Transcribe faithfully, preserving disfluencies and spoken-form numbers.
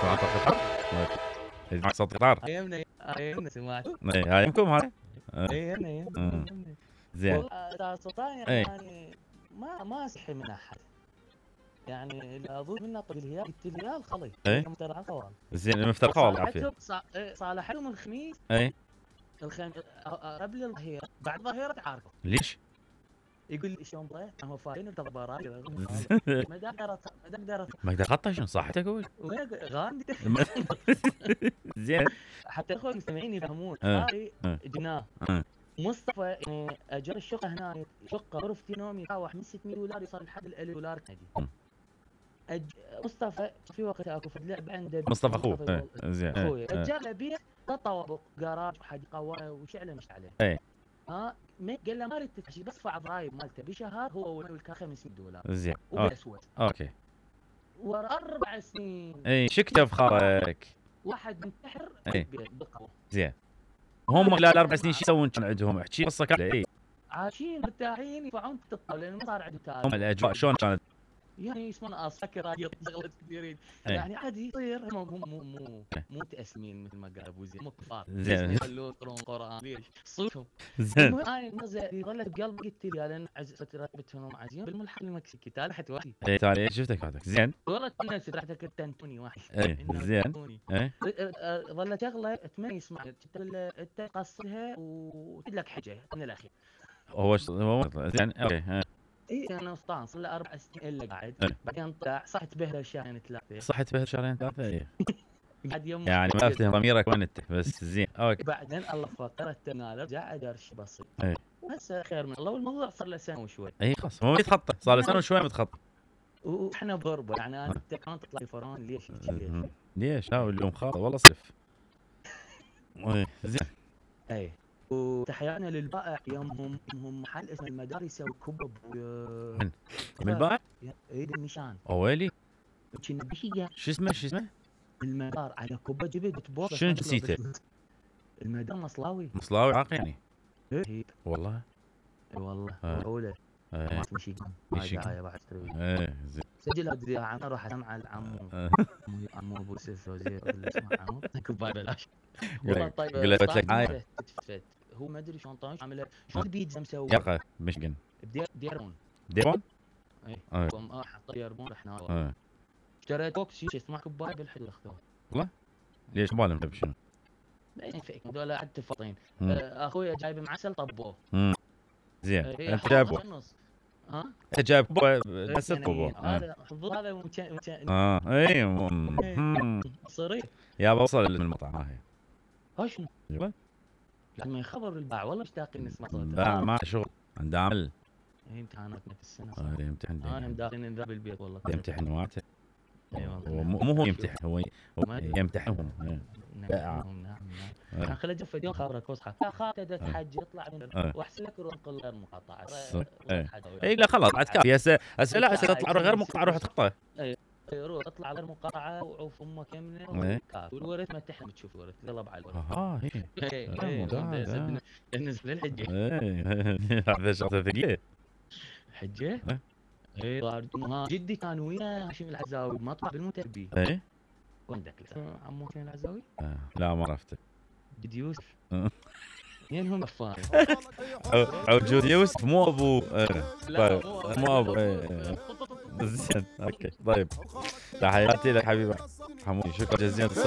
سمعت القطار؟ إيه معك صوت قطار؟ ايامنا ايامنا سمعت إيه هايمكم هاي؟ ايامنا ايامنا زين. والله سلطان يعني ما ما استحي من احد يعني اللي اظن منه طق الهلال قلت الهلال خلي ايه مفترق الخوال زين المفترقه والله عافيه. صالحتهم الخميس اي الخميس قبل الظهيره بعد الظهيره تعاركوا. ليش؟ يقول لي شلون ضيع هم فاينل التضبارات ما اقدر ما اقدر ما اقدر اغطى شنو صحتك اقول غاندي زين حتى اخوي المستمعين يفهمون هاي جناه مصطفى يعني اجر الشقه هنا شقه غرفتي نوم يتراوح من ستمية دولار يوصل لحد ال ألف دولار كندي. أج... مصطفى في وقت اكو فد لعب عنده مصطفى اخوه زين اخوي اجر له بيت طوابق جراج وحديقه وشعله مش عليه اي ها ما قال له ما اريد تدفع بس ادفع ضرايب مالته بشهر هو والكا خمسمية دولار زين وبالاسود اوكي ورا اربع سنين اي شكتب خارك واحد منتحر بالقهوه زين هم خلال اربع سنين شو يسوون كان عندهم احكي قصه كامله اي عايشين مرتاحين يدفعون تطلع لان ما صار عندهم تاريخ. هم الاجواء شلون كانت؟ يعني يسمون اسكر شغلات كثيرين يعني عادي يصير هم مو مو مو مو تأسمين مثل ما قال ابو زين مو كفار زين يخلون يقرون قران ليش صوتهم زين انا نزل ظلت بقلبي قلت لي لان رتبتهم عزيزين بالملحق المكسيكي تالحت واحد اي تالي شفتك هذاك زين والله الناس رحت كنت انتوني واحد اي زين اي ظلت شغله اتمنى يسمع انت تقصرها وتقول لك حاجه من الاخير هو هو زين اوكي اي انا اسطان صار له اربع سنين الا قاعد بعدين طلع صحت بهله شهرين ثلاثه صحت بهله شهرين ثلاثه اي بعد يوم يعني ما افتهم ضميرك وين انت بس زين اوكي بعدين الله فقرت انا رجع ادرش بسيط اي بس خير من الله والموضوع صار له سنه وشوي اي خلاص هو يتخطى صار له سنه وشوي متخطى واحنا بغربه يعني انا انت كمان تطلع فران ليش ليش ليش ها اليوم خاطر والله صرف اي زين اي وتحياتنا للبائع يومهم هم محل اسمه المدار يسوي كبب من من البائع؟ اي بالنشان اويلي كنا بشيء شو اسمه شو اسمه؟ المدار على كبه جبت بتبوظ شنو نسيته؟ المدار مصلاوي مصلاوي عاق يعني؟ اي والله اي والله اولى ما تمشي مشي بعد تروي ايه زين سجل ادري عم اروح اسمع العمو عمو ابو سيف وزير ولا اسمع عمو كوبايه بلاش والله طيب قول له لك عاية هو ما ادري شلون طاش عامله شلون البيتزا مسوي يقه مشقن ديرون ديرون؟ اي قوم اه حط ديرون رحنا اشتريت بوكس شو اسمه كوبايه بالحلو اخذوها والله ليش بالهم بشنو؟ لا ينفعك هذول عاد فاطين اخوي جايب معسل طبوه زين انت جايبه ها انت جايب بس طبوه هذا هذا اه اي صريح يا بوصل المطعم هاي ها شنو؟ ايوه لما يخبر الباع والله مشتاقين نسمع صوته باع ما شغل عنده عمل اي امتحاناتنا في السنه اه يمتحن انا مداخلين ذا بالبيت والله يمتحن واته اي والله مو هو يمتحن هو يمتحنهم نعم نعم نعم خلي جفت يوم خابرك وصحى يا خاطر تحج يطلع من واحسن لك روح قل غير مقاطعه اي لا خلاص بعد كافي هسه هسه لا هسه تطلع غير مقاطعه روح تخطى اي روح اطلع غير مقاطعه وعوف امك يمنه والورث ما تحلم تشوف الورث قلب على الورث اه اي بالنسبه للحجه هذا شغله ثقيله حجه اي ها جدي كان ويا هاشم العزاوي مطلع بالمتربي اي وينك عمو هاشم العزاوي؟ آه. لا ما عرفته جدي يوسف مين هو مفاهم عوجود يوسف مو ابو طيب مو ابو زين اوكي طيب تحياتي لك حبيبي حمودي شكرا جزيلا اتصالك